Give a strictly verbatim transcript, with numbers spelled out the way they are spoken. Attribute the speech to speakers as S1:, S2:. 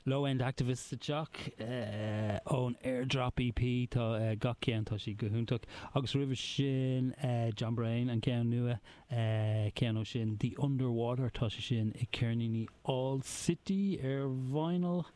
S1: Low End Activist sa teach uh, ón Airdrop EP tá uh, gach ceann tá sí go hiontach agus roimhe sin uh, John Brain an ceann nua uh, ceann ó sin The Underwater tá sé sin i ceirníní All City ar vinyl.